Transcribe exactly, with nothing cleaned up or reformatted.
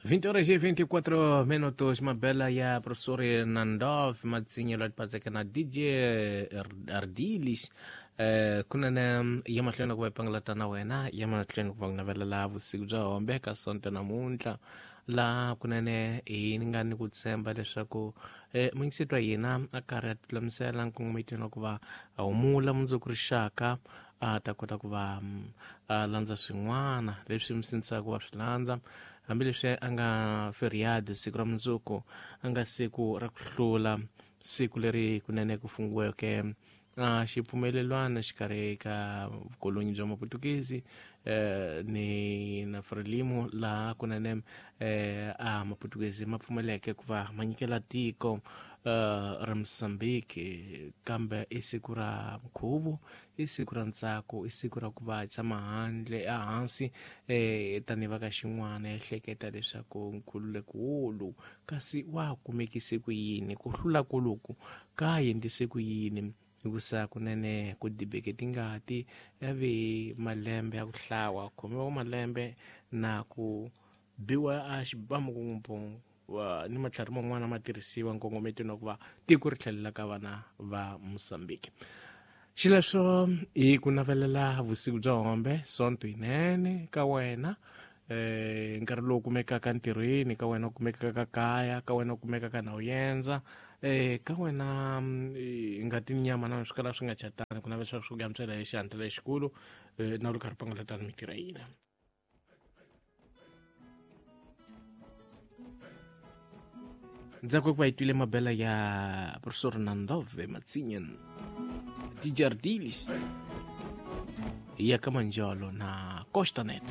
vinte horas e vinte e quatro minutos, mabela ya professor Nandov Matsinyo latipazeka na D J Ardilis. Eh, kunene ya mahlweni ku va pangalata na wena, ya mahlweni ku va ku navelela vusiku bya hombe ka Sonto namuntlha, laha kunene hi nga ni ku tshemba leswaku eh, muyingiseti wa hina a karhi a tilulamisela nkongometweni wa ku va a humula mundzuku rixaka, a ta kota ku va a landza swin'wana leswi mi sindzisaka ku va swi landza, hambileswi a nga feriado siku ra mundzuku, a nga siku ra ku hlula, siku leri kunene ku fungiweke a xipfumelelwana xikarhi ka vukolonyi bya Maputukezi eh, ni na Frelimo, laha kunene eh, a Maputukezi ma pfumeleke ku va ma nyikela tiko eh, ra Mozambique. Kambe i siku ra nkhuvo, i siku ra ntsako, i siku ra ku va tshama handle ehansi eh, tanihi va ka xin'wana ehleketa leswaku nkhululeko wolu kasi wa kumekise ku yini, ku hlula koloku ka endlise ku yini, hikusa kunene ku dibeke tingati ya ve malembe ya ku hlawa, khomiwa malembe na ku biwa a xibamu ku ni matlhari man'wana ma tirhisiwa nkongometweni wa ku va tiko ri tlhelela ka vana va Mozambique. Xileswo hi ku navelela vusiku bya hombe, Sonto yinene ka wena, eh nkarhi lowu kumekaka ntirhweni, ka wena kumekaka kaya, ka wena kumekaka na u yendza, eh ka wena ngati ni nyama na swi kala swi nga chatani, ku navela swa ku antswela hi xihatla lexikulu eh, na ri karhi pangalatana mintirho ya hina. Ndzhaku ku va yi twile mabela ya professor Nandove Matsinyen, D J Ardilis, ya ka Manjolo na Costa Net.